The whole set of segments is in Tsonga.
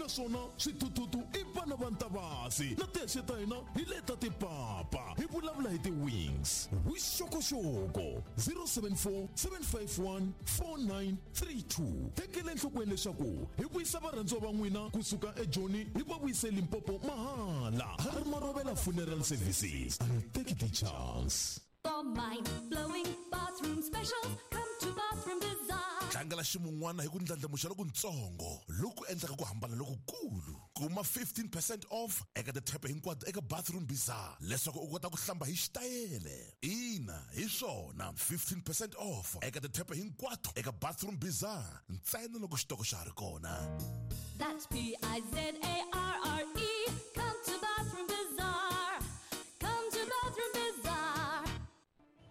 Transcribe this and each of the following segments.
Naswona swithuthuthu i vana va Ntavasi na tihexe ta hina hi leta tipapa. Hi vulavula hi ti-wings. Vuxokoxoko 074 751 4932. Tekela enhlokweni leswaku hi vuyisa varhandziwa va n'wina kusuka eJoni hi va vuyise Limpopo mahala. Ha ri Marovela Funeral Services. A hi teki ti-chance. For mind-blowing bathroom specials, come to Bathroom Bazaar. Tlangela ximun'wana hi ku ndlandlamuxa lokutsongo loku endlaka ku hambana lokukulu. Kuma 15 percent off eka tithepe hinkwato eka Bathroom Bazaar leswaku u kota ku hlamba hi xitayele. Ina, hi swona, 15 percent off eka tithepe hinkwato eka Bathroom Bazaar ntsena loko xitoko xa ha ri kona. That's Bizarre. Come to Bathroom Bazaar. Come to Bathroom Bazaar.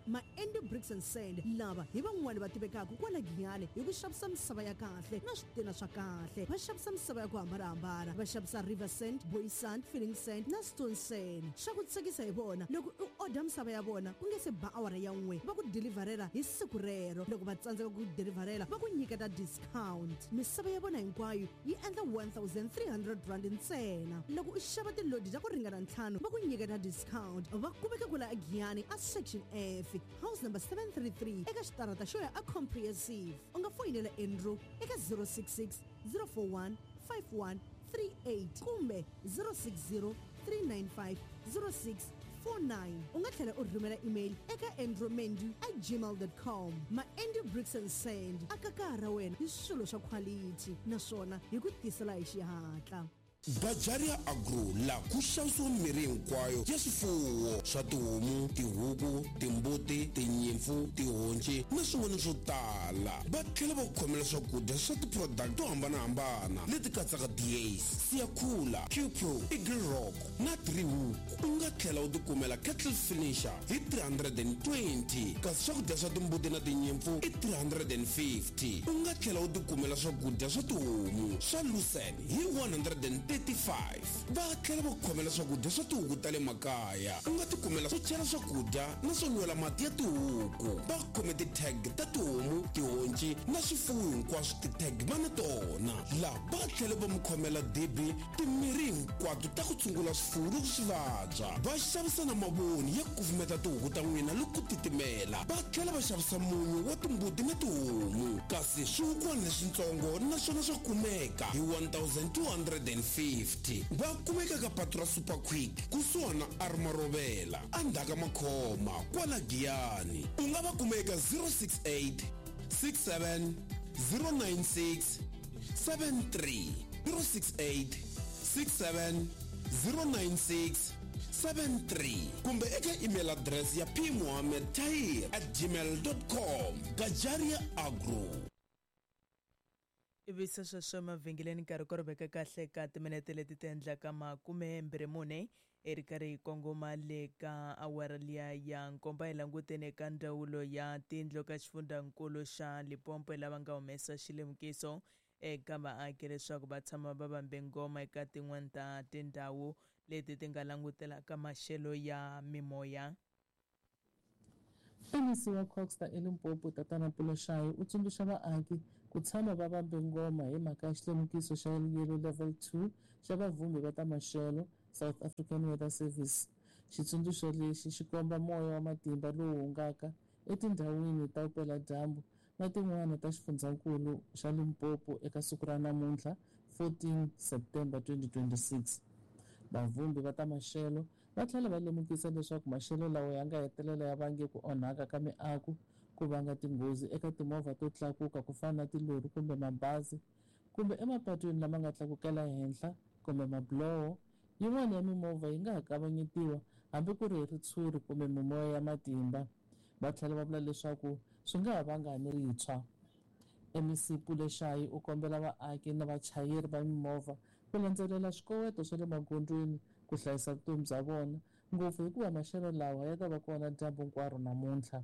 Ma-Andy Bricks and Sand lava hi van'wani va tivekaka kwala Giyani hi ku xavisa misava ya kahle na switina swa kahle. Va xavisa misava ya ku hambanahambana, va xavisa river sand, boy sand, filling sand na stone sand. Swa ku tsakisa hi vona loko u order misava ya vona ku nge se ba awara ya n'we va ku deliverela hi siku rero. Loko va tsandzeka ku deliverela va ku nyiketa discount. Misava ya vona hinkwayo yi endla 1300 rand ntsena. Loko u xava tilodi ta ku ringana ntlhanu va ku nyiketa discount. Va kumeka kwala eGiyani a Section F, house number 733 eka xitarata xo ya a Comprehensive. U nga foyinela Andrew eka 066 041 5138 kumbe 060 395 0649. U nga tlhela u rhumela email eka andrewmendu at gmail.com. Ma-Andrew Bricks and Sand a kaka ra wena hi swilo swa khwalithi naswona hi ku tisela hi xihatla. Bajaria Agro la ku xavisiwa mirhi hinkwayo ya swifuwo swa tihomu, tihuku, timbuti, tinyimpfu, tihonci na swin'wana swo tala. Va tlhela va ku khomela swakudya swa ti-product to hambanahambana leti katsaka Diace, Siyakhula, Qpro, Eagle Rock na Three Hook. U nga tlhela u tikumela Kettle Finisher hi 320 kasi swakudya swa timbuti na tinyimpfu i 350. U nga tlhela u tikumela swakudya swa tihomu swa Lucerne hi 135. Va tlhela va ku khomela swakudya swa tihuku ta le makaya. U nga tikumela swo chela swakudya na swo nwela mati ya tihuku. Va khome ti-tag ta tihomu, tihonci na swifuwo hinkwaswo ti-tag va na tona. La va tlhela va mi khomela dibi timirhi hinkwato ta ku tshungula swifuwo loko swi vabya. Va xavisa na mavoni ya ku kufumeta tihuku ta n'wina loko ku titimela. Va tlhela va xavisa munyu wa timbuti na tihomu. Kasi swihukwana leswintsongo naswona swa kumeka hi 1250. Va kumeka ka patu ra Super Quick kusuhana na Armarovela endzhaku ka Makhoma kwala Giyani. U nga va kuma eka 068 67 096 73 068 67 096 73 kumbe eka email address ya pmuhammedtahir at gmail com. Gajaria Agro. Ivi se sweswo emavhengeleni nkarhi ku ri veka kahle ka timinete leti ti endlaka 24 i ri karhi hi kongoma le ka awara liya ya nkomba. Hi languteni eka ndzawulo ya tindlu ka xifundzankulu xa Limpopo lava nga humesa xilemukiso eka vaaki leswaku va tshama va vambe ngoma eka tin'wana ta tindhawu leti ti nga langutelaka maxelo ya mimoya. MEC wa CoGHSTA eLimpopo Tatana Puloshayi u tsundzuxa vaaki ku tshama va vambe ngoma hi mhaka ya xilemukiso xa Yellow Level 2 xa vavhumbi va ta maxelo, South African Weather Service. Xitsundzuxo lexi xi komba moya wa matimba lowu hungaka etindhawini ta vupeladyambu na tin'wana ta xifundzankulu xa Limpopo eka siku ra namuntlha, 14 September 2026. Vavhumbi va ta maxelo va tlhela va lemukisa leswaku maxelo lawa ya nga hetelela ya vange ku onhaka ka miako, ku vanga tinghozi eka timovha to tlakuka ku fana na tilori kumbe mabazi, kumbe emapatwini lama nga tlakukela henhla kumbe mabuloho. Yin'wana ya mimovha yi nga ha kavanyetiwa hambi ku ri hi ritshuri kumbe mimoya ya matimba. Va tlhela va vula leswaku swi nga ha vanga ni ritshwa. MEC Puleshayi u kombela vaaki na vachayeri va mimovha ku landzelela swikoweto swa le magondzweni ku hlayisa vutomi bya vona, ngopfu hikuva maxelo lawa ya ta va kona dyambu hinkwaro namuntlha.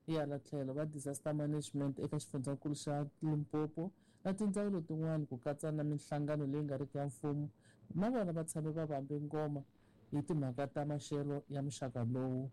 Hi hala tlhelo, va Disaster Management eka xifundzankulu xa Limpopo na tindzawulo tin'wana ku katsa na minhlangano leyi nga riki ya mfumo na vona va tshame va vambe ngoma hi timhaka ta maxelo ya muxaka lowu.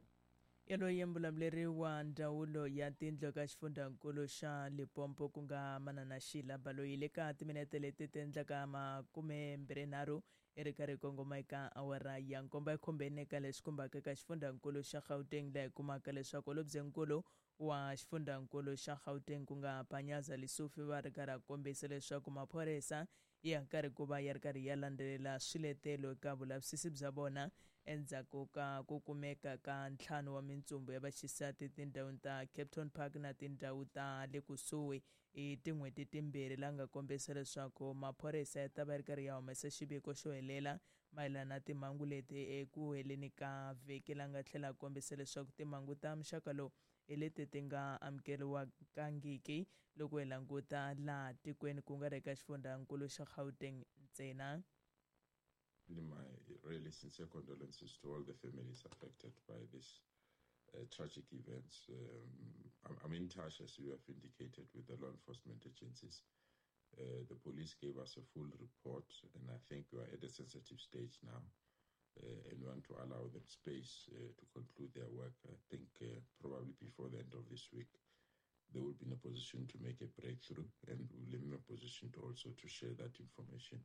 Yaloye mbulavuleri wa ndzawulo ya tindlu eka xifundzankulu xa Limpopo ku nga Manana Sheila Baloyi le ka timinete leti ti endlaka 23 i ri karhi kongoma eka awara ya nkombo ya khumbeni eka leswi khumbaka eka xifundzankulu xa Gauteng laha hi kumaka leswaku holobyenkulu wa xifundzankulu xa Gauteng ku nga Panyaza Lesufi va ri karhi a kombisa leswaku maphorisa ya karhi ku va ya ri karhi ya landzelela swiletelo eka vulavisisi bya vona endzhaku ka ku kumeka ka ntlhanu wa mintsumbu ya vaxisati tindhawini ta Kempton Park na tindhawu ta le kusuhi hi tin'hweti timbirhi la nga kombisa leswaku maphorisa ya ta va ri karhi ya humesa xiviko xo helela mayelana na timhangu leti eku heleni ka vhiki la nga tlhela a kombisa leswaku timhangu ta muxaka lowu hi leti ti nga amukeriwangiki loko hi languta laha tikweni ku nga ri eka xifundzankulu xa Gauteng ntsena. My really sincere condolences to all the families affected by this tragic events. I'm in touch, as you have indicated, with the law enforcement agencies. The police gave us a full report, and I think we are at a sensitive stage now and we want to allow them space to conclude their work. I think probably before the end of this week, they will be in a position to make a breakthrough, and we'll be in a position to also to share that information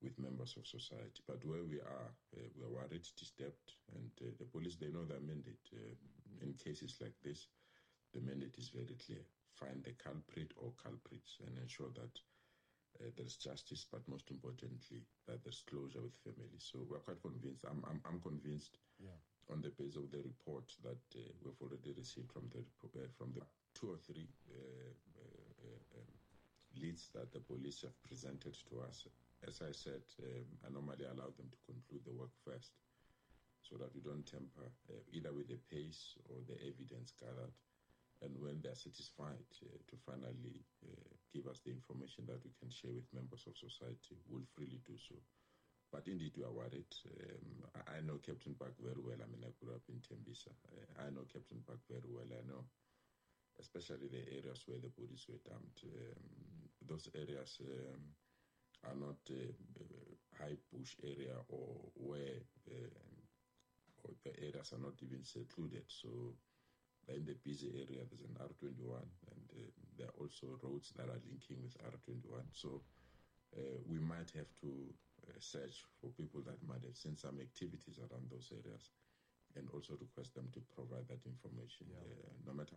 with members of society. But where we are worried, disturbed, and the police, they know their mandate. In cases like this, the mandate is very clear. Find the culprit or culprits and ensure that there's justice, but most importantly, that there's closure with families. So we're quite convinced. I'm convinced on the basis of the report that we've already received from the 2 or 3 leads that the police have presented to us. As I said, I normally allow them to conclude the work first so that we don't tamper either with the pace or the evidence gathered. And when they are satisfied to finally give us the information that we can share with members of society, we'll freely do so. But indeed, we are worried. I know Kempton Park very well. I mean, I grew up in Tembisa. I know Kempton Park very well. I know especially the areas where the bodies were dumped. Those areas are not high bush area or where or the areas are not even secluded. So in the busy area, there's an R21, and there are also roads that are linking with R21. So we might have to search for people that might have seen some activities around those areas and also request them to provide that information, no matter.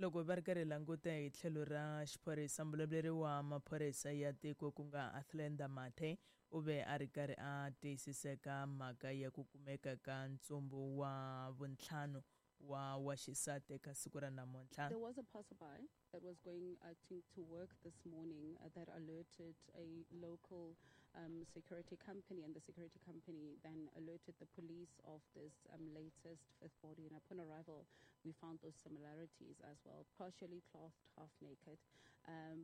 Loko va ri karhi languta hi tlhelo ra xiphorisa, mbulavuleri wa maphorisa ya tiko ku nga Athlenda Mathe u ve a ri karhi a tiyisiseka mhaka ya ku kumeka ka ntsumbu wa vuntlhanu wa xisati eka siku ra namuntlha. There was a passerby that was going, I think, to work this morning that alerted a local security company, and the security company then alerted the police of this latest fifth body. And upon arrival, we found those similarities as well, partially clothed, half naked.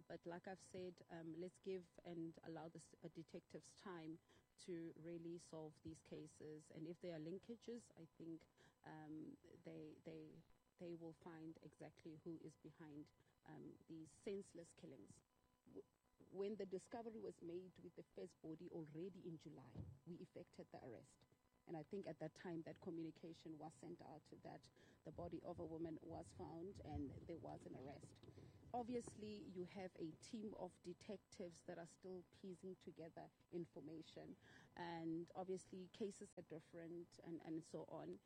But like I've said, let's give and allow the detectives time to really solve these cases. And if there are linkages, I think they will find exactly who is behind these senseless killings. When the discovery was made with the first body already in July, we effected the arrest. And I think at that time that communication was sent out that the body of a woman was found and there was an arrest. Obviously, you have a team of detectives that are still piecing together information, and obviously cases are different and so on.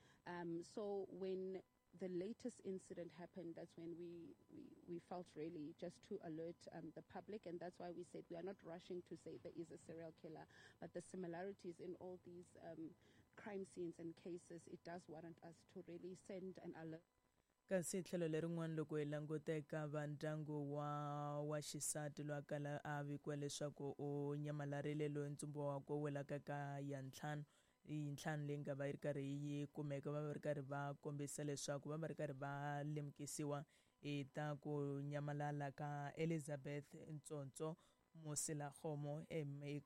So when the latest incident happened, that's when we felt really just to alert the public, and that's why we said we are not rushing to say there is a serial killer, but the similarities in all these crime scenes and cases, it does warrant us to really send an alert. Kasi tlhelo lerin'wana loko hi languta eka va ndyangu wa xisati loyi a kala a vikiwa leswaku u nyamalarile, loyi ntsumbu wakwe wu welaka ka ya ntlhanu yintlhanu leyi nga va yi ri karhi yi kumeka, va va ri karhi va kombisa leswaku va va ri karhi va lemukisiwa hi ta ku nyamalala ka Elizabeth Ntsonso Moselakgomo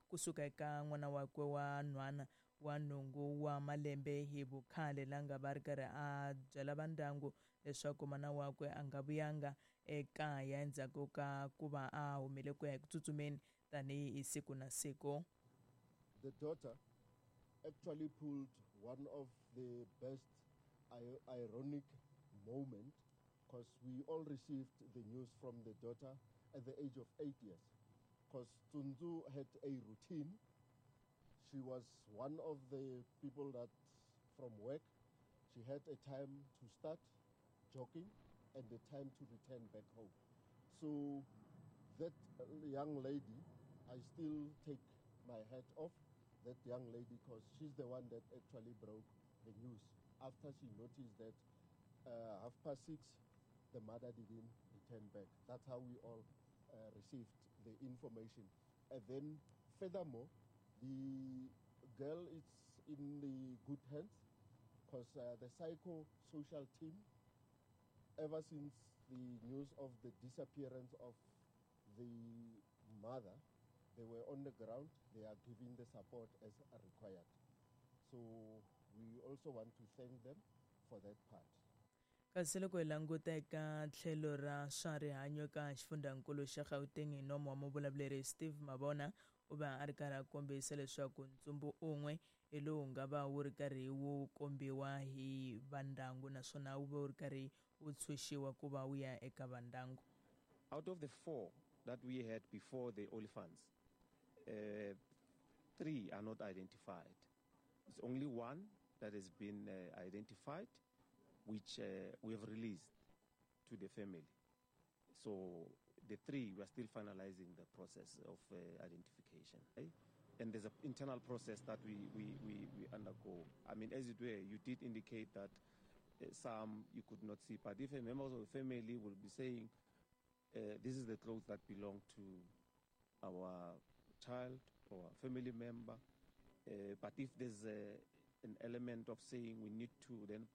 kusuka eka n'wana wakwe wa nhwana wa nhungu wa malembe hi vukhale, la nga va ri karhi a byela va ndyangu leswaku mana wakwe a nga vuyanga ekaya endzhaku ka ku va a humile ku ya eku tsutsumeni tanihi siku na siku. The daughter actually pulled one of the best ironic moment because we all received the news from the daughter at the age of 8 years. Because Tsunzu had a routine. She was one of the people that from work, she had a time to start jogging and the time to return back home. So that young lady, I still take my hat off that young lady because she's the one that actually broke the news after she noticed that 6:30, the mother didn't return back. That's how we all received the information. And then furthermore, the girl is in the good hands because the psychosocial team, ever since the news of the disappearance of the mother, they were on the ground. They are giving the support as required. So we also want to thank them for that part. Kasi loko hi languta eka tlhelo ra swa rihanyo eka xifundzankulu xa Gauteng hi nomo wa muvulavuleri Steve Mabona u va a ri karhi a kombisa leswaku ntsumbu un'we hi lowu nga va wu ri karhi wu kombiwa hi vandyangu naswona wu va wu ri karhi wu tshunxiwa ku va wu ya eka vandyangu. Out of the 4 that we had before the Olifants, 3 are not identified. It's only one that has been identified, which we have released to the family. So the 3, we are still finalizing the process of identification. Right? And there's an internal process that we undergo. I mean, as it were, you did indicate that some you could not see, but if a member of the family will be saying, this is the clothes that belong to our child or a family member, but if there's an element of saying we need to then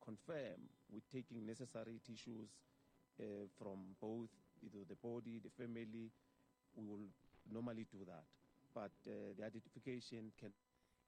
confirm with taking necessary tissues from both either the body, the family, we will normally do that. But the identification can...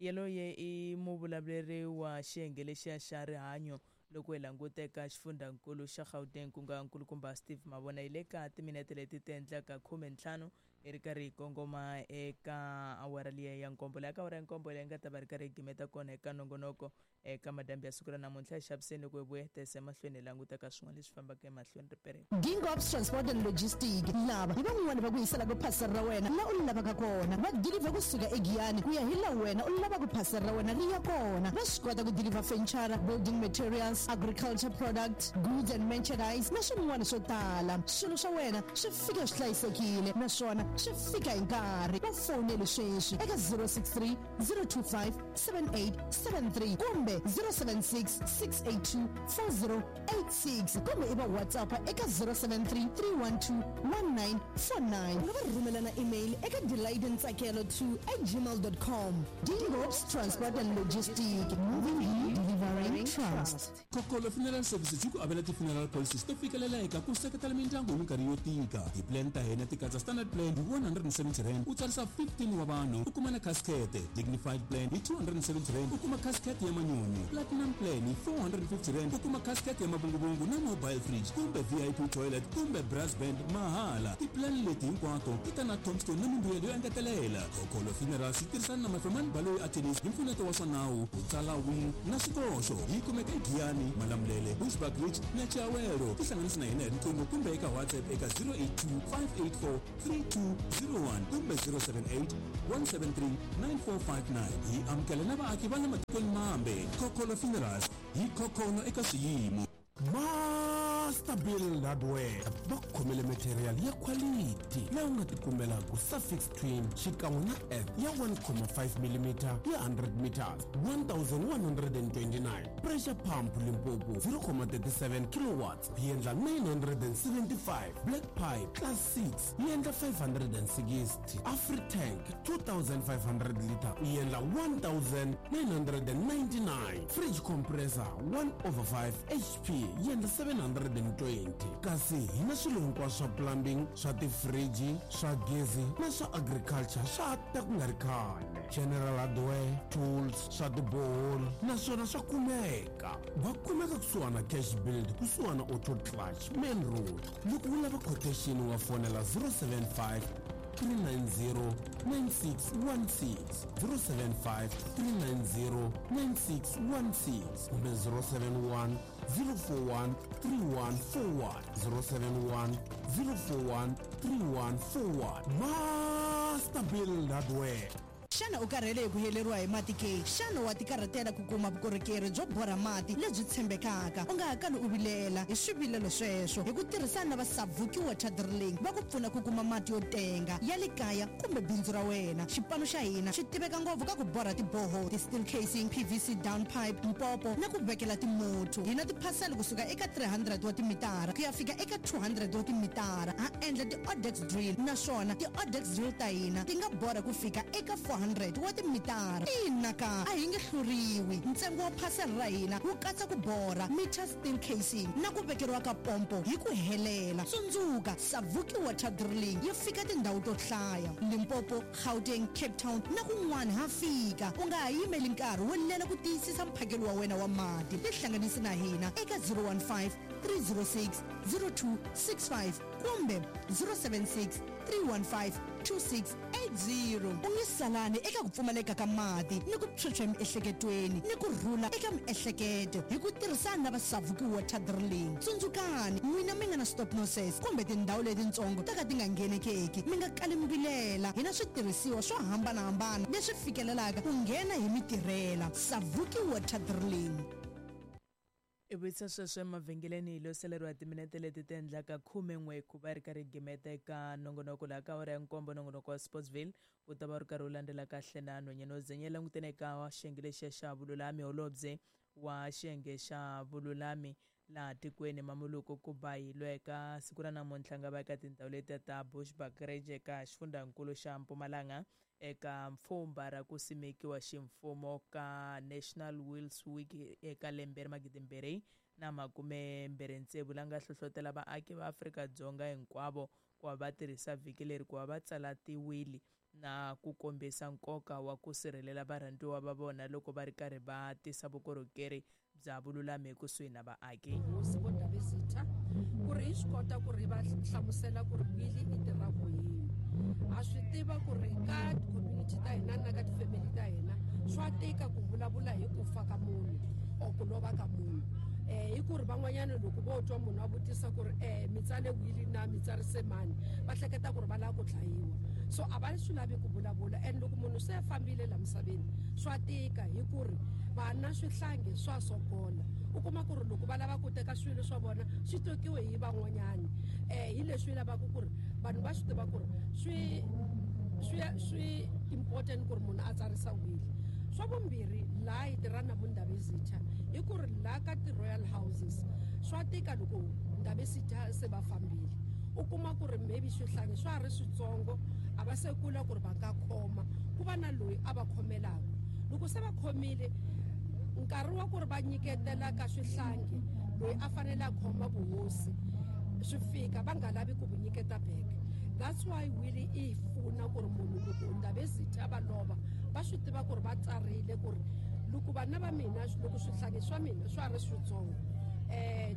Yaloye i muvulavuleri wa xiyenge lexiya xa rihanyo loko hi languta eka xifundzankulu xa Gauteng ku nga nkulukumba Steve Mabona hi le ka timinete leti ti endlaka 15 hi ri karhi hi kongoma eka awara liya ya nkombo laha ka awara ya nkombo leyi nga ta va ri karhi hi gimeta kona eka nongonoko eka madambi ya siku ra namuntlha hi xaviseni loko hi vuyetesa emahlweni hi languta ka swin'wana leswi fambaka emahlweni ripereni. Gingobs Transport and Logistic lava hi van'wani va ku yiselaka phasela ra wena la u lavaka kona va deliver kusuka eGiyani ku ya hi la wena u lavaka phasela ra wena ri ya kona va swi kota ku deliver furniture, building materials, agriculture products, goods and merchandise na swin'wana swo tala. Swilo swa wena swi fika swi hlayisekile naswona swi fika hi nkarhi. Va foneli sweswi eka 063 025 7873 kumbe 076 682 4086 kumbe i va WhatsApp eka 073 312 1949. U nga va rhumela na email eka delightntsakelo2@gmail.com. Dingobs Transport and Logistic, moving you, delivering trust. Kokolo Funeral Services yi ku avela ti-funeral policies to fikelela ku seketela mindyangu hi minkarhi yo tika. Ti-plan ta hina ti katsa standard plan hi 170 rand u tsarisa 15 wa vanhu u kuma na casket, dignified plan hi 270 rand u kuma casket ya manyunyu, platinum plan hi 450 rand u kuma casket ya mavunguvungu na mobile fridge kumbe VIP toilet kumbe brass band mahala. Ti-plan leti hinkwato ti ta na tombstone na mimbuyelo yo engetelela. Kokolo Funerals yi tirhisana na Mafemani Baloyi Attorneys hi mpfuneto wa swa nawu ku tsala will na swikoxo. Yi kumeka eGiyani, Malamulele, Bushbuckridge na Chiawelo. Tihlanganisi na hina hi riqingho kumbe eka WhatsApp eka 082 584 3201 kumbe 078 173 9459. Hi amukela na vaaki va le matikweni mambe. Kokolo Funerals hi khokholo eka swiyimo. Master Build Hardware va khomele material ya quality leyi u nga tikumelaka suffix twin xikan'we na F ya 1.5 mm ya 100 meters 1129, pressure pump Limpopo 0.37 kilowatts yi endla 975, black pipe class 6 yi endla 560, Afritank 2500 liter yi endla 1999, fridge compressor 1/5 HP yi endla 720. Kasi hi na swilo hinkwaswo swa plumbing, swa tifriji, swa gezi na swa agriculture swa ta ku nga ri khale. General hardware, tools, swa tiboholi naswona swa kumeka. Va kumeka kusuhana Cash Build, kusuhana Auto Clutch, Main Road. Loko u lava quotation wa fonela 075 390 9616 075 390 9616 kumbe 071 041 3141 071 041 3141. Master Build Hardware. Xana u karhele hi ku heleriwa hi mati ke? Xana wa tikarhatela ku kuma vukorhokeri byo borha mati lebyi tshembekaka? U nga ha kali u vilela hi swivilelo sweswo. Hi ku tirhisana na va Savuki Water Drilling, va ku pfuna ku kuma mati yo tenga ya le kaya kumbe bindzu ra wena. Xipano xa hina xi tiveka ngopfu ka ku borha ti-borehole, ti-steel casing, PVC down pipe, mpopo na ku vekela timuthu. Hi na tiphasela kusuka eka 300 wa timitara ku ya fika eka 200 wa timitara. Ha endla ti-odex drill, naswona ti-odex drill ta hina ti nga borha ku fika eka 400 wa timitara. Ina ka, a hi nge hluriwi. Ntsengo wa phasela ra hina wu katsa ku borha, meter steel casing na ku vekeriwa ka pompo hi ku helela. Tsundzuka, Savuki Water Drilling yi fika tindhawu to hlaya, Limpopo, Gauteng, Cape Town na kun'wana ha fika. U nga ha yimeli nkarhi wo lela ku tiyisisa mphakelo wa wena wa mati. Tihlanganisi na hina eka 015 306 0265 kumbe 076 315 2680. U nge salani eka ku pfumaleka ka mati ni ku phyuphya emiehleketweni ni ku rhula eka miehleketo hi ku tirhisana na va Savuki Water Drilling. Tsundzukani, n'wina mi nga na stop noses kumbe tindhawu letitsongo ta ka ti nga nghenekeki, mi nga kali mi vilela. Hi na switirhisiwa swo hambanahambana leswi fikelelaka ku nghena hi mi tirhela. Savuki Water Drilling. I vuyisa sweswo emavhengeleni hi lo saleriwa timinete leti ti endlaka 11 ku va ri karhi gimeta eka nongonoko laha ka awara ya nkombo. Nongonoko wa Sportsville wu ta va wu ri karhi wu landzela kahle na nhwanyana wo zenya langutene eka xiyenge lexiya xa vululami. Holobye wa xiyenge xa vululami laha tikweni Mamuluko Kubayi loyi eka siku ra namuntlha nga va eka tindhawu letiya ta Bushbuckridge eka xifundzankulu xa Mpumalanga eka mpfhumba ra ku simekiwa ximfumo ka National Wills Week eka lembe ra 2026, la nga hlohlotela vaaki va Afrika-Dzonga hinkwavo ku va va tirhisa vhiki leri ku va va tsala tiwili na ku kombisa nkoka wa ku sirhelela varhandziwa va vona loko va ri karhi va tisa vukorhokeri bya vululami ekusuhi na vaaki. Hosi vo Ndabezitha ku ri hi swi kota ku ri va hlamusela ku ri wili i tirha ku yini. Ha swi tiva ku ri ka community ta hina na ka ti-family ta hina swa tika ku vulavula hi ku fa ka munhu or ku lova ka munhu. Hi ku ri van'wanyana loko vo twa munhu a vutisa ku ri mi tsale wili na mi tsarise mani, va hleketa ku ri va lava ku dlayiwa. So a va swi lavi ku vulavula, and loko munhu se a fambile la misaveni swa tika hi ku ri vana swihlangi swa sokola. U kuma ku ri loko va lava ku teka swilo swa vona swi tekiwe hi van'wanyani. Hi leswi lavaka ku ri vanhu va swi tiva ku ri swi important ku ri munhu a tsarisa wili. Swa vumbirhi, laha hi tirha na vundabezitha hi ku ri laha ka ti-royal houses swa tika loko Ndabezitha se va fambile, u kuma ku ri maybe swihlangi swa ha ri switsongo, a va se kula ku ri va nga khoma, ku va na loyi a va khomelaka. Loko se va khomile, nkarhi wa ku ri va nyiketela ka swihlangi loyi a fanele a khoma vuhosi swi fika va nga lavi ku vu nyiketa back. That's why wili i pfuna ku ri munhu loko Ndabezitha va lova va swi tiva ku ri va tsarile ku ri loko vana va mina, loko swihlangi swa mina swa ha ri switsongo,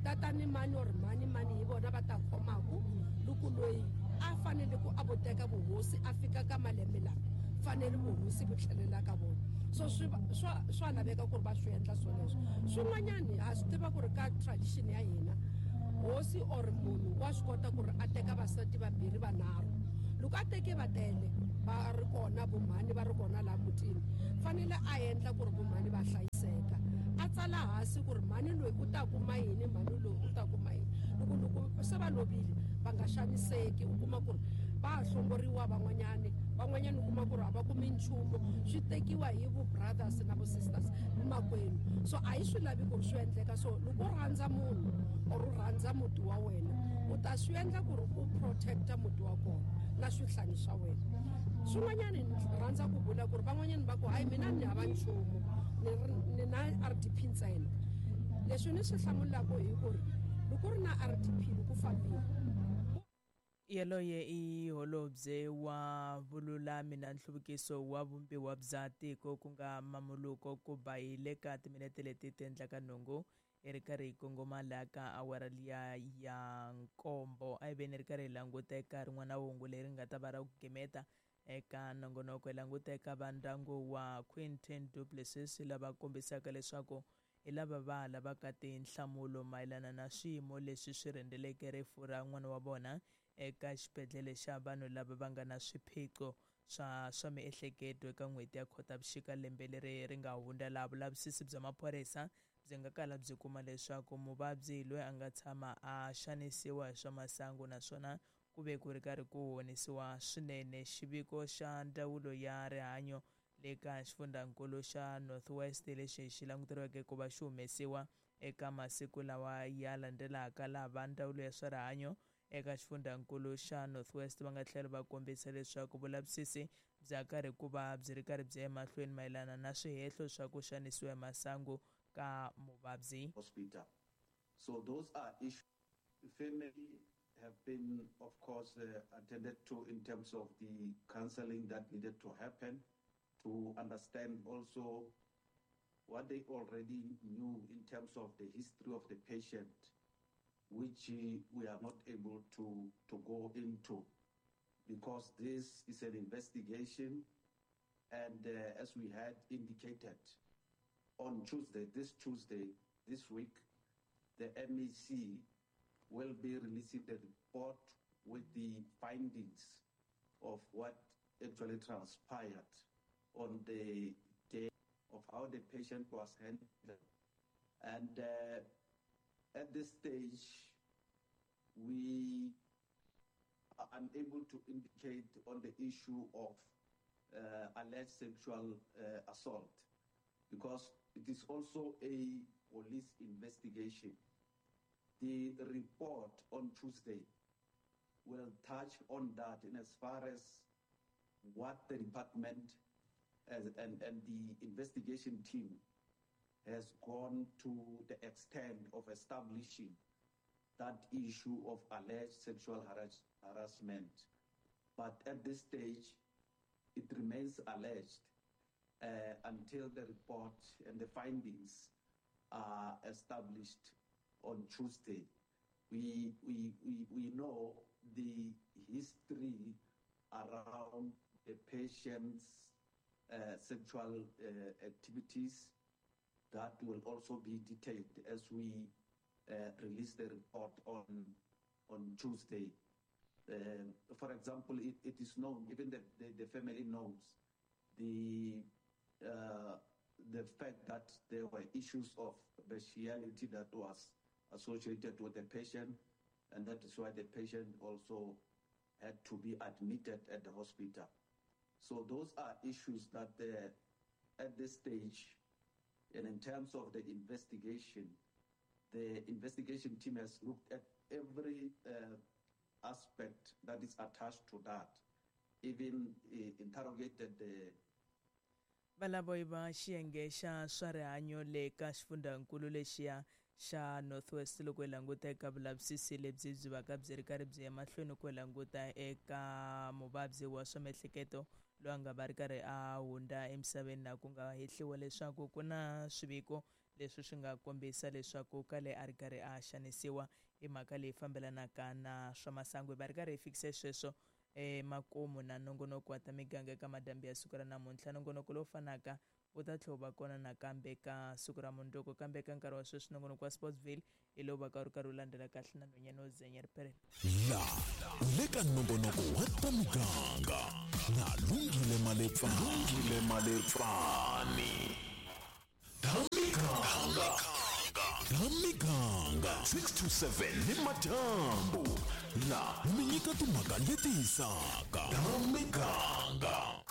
tatani mani or mani mani hi vona va ta khomaku. Loko loyi a fanele ku a vo teka vuhosi a fika ka malembe lama, fanele vuhosi vu tlhelela ka vona. So swa laveka ku ri va swi endla swoleswo. Swin'wanyani ha swi tiva ku ri ka tradition ya hina hosi or munhu wa swi kota ku ri a teka vasati vambirhi vanharhu. Loko a teke va tele va ri kona vomhani va ri kona laha mutini, fanele a endla ku ri vomhani va hlayiseka, a tsala hansi ku ri mhani loyi u ta kuma yini, mhani loyi u ta kuma yini. Loko se va lovile va nga xaniseki, u kuma ku ri va ha hlongoriwa van'wanyani, van'wanyani u kuma ku ri a va kumi nchumu, swi tekiwa hi vo brothers na vo sisters makwenu. So a hi swi lavi ku ri swi endleka. So loko u rhandza munhu or u rhandza muti wa wena, u ta swi endla ku ri u protecta muti wa kona na swihlangi swa wena. Swin'wanyani ni rhandza ku vula ku ri van'wanyani va ku hayi mina ni hava nchumu, ni na RDP ntsena. Leswi ni swi hlamulaka hi ku ri loko ri na RDP loko fambile. Yaloye i holobye wa vululami na nhluvukiso wa vumbiwa bya tiko ku nga Mamuluko Kubayi le ka timinete leti ti endlaka nhungu. Hi ri karhi hi kongoma laha ka awara liya ya nkombo. A hi veni ri karhi hi languta eka rin'wana hungu leri nga ta va ra ku gimeta eka nongonoko. Hi languta eka va ndyangu wa Quinton Du Plessis lava kombisaka leswaku hi lava va lavaka tinhlamulo mayelana na swiyimo leswi swi rhendzeleke rifu ra n'wana wa vona eka xibedhlele xa vanhu lava va nga na swiphiqo swa miehleketo eka n'hweti ya Khotavuxika lembe leri ri nga hundza, laha vulavisisi bya maphorisa byi nga kala byi kuma leswaku muvabyi loyi a nga tshama a xanisiwa hi swa masangu naswona ku ve ku ri karhi ku honisiwa swinene. Xiviko xa ndzawulo ya rihanyo le ka xifundzankulu xa North West lexi xi languteriweke ku va xi humesiwa eka masiku lawa ya landzelaka, laha va ndzawulo ya swa rihanyo eka xifundzankulu xa North West va nga tlhela va kombisa leswaku vulavisisi bya karhi ku va byi ri karhi byi ya emahlweni mayelana na swihehlo swa ku xanisiwa hi masangu ka muvabyi. Hospital. So those are issues. Family have been, of course, attended to in terms of the counseling that needed to happen to understand also what they already knew in terms of the history of the patient, which we are not able to go into because this is an investigation. And as we had indicated on Tuesday, this Tuesday, this week, the MEC will be releasing the report with the findings of what actually transpired on the day of how the patient was handled. And at this stage, we are unable to indicate on the issue of alleged sexual assault, because it is also a police investigation. The report on Tuesday will touch on that in as far as what the department and the investigation team has gone to the extent of establishing that issue of alleged sexual harassment. But at this stage, it remains alleged until the report and the findings are established on Tuesday. We know the history around the patient's sexual activities. That will also be detailed as we release the report on Tuesday. For example, it is known, even the family knows, the fact that there were issues of bestiality that was associated with the patient, and that is why the patient also had to be admitted at the hospital. So those are issues that at this stage, and in terms of the investigation team has looked at every aspect that is attached to that, even interrogated the Valavo va xiyenge xa swa rihanyo le ka xifundzankulu lexiya xa North West loko hi languta eka vulavisisi lebyi byi vaka byi ri karhi byi ya mahlweni ku languta eka muvabyi wa swa miehleketo loyi a nga va ri karhi a hundza emisaveni, na ku nga hehliwa leswaku ku na swiviko leswi swi nga kombisa leswaku kale a ri karhi a xanisiwa hi mhaka leyi fambelanaka na swa masangu. Hi va ri karhi hi fikise sweswo makumu na nongonoko wa ta miganga eka madambi ya siku ra namuntlha. Nongonoko lowu fanaka wu ta tlhela wu va kona nakambe ka siku ra mundzuku, kambe eka nkarhi wa sweswi nongonoko wa Sportsville hi lowu va ka wu ri karhi wu landzela kahle na nhwanyana wo zenya riperelo. La le ka nongonoko wa ta miganga na Lungile Malepfani. Ta miganga 6 to 7 ni madyambu la mi nyika timhaka leti hisaka. Ta miganga.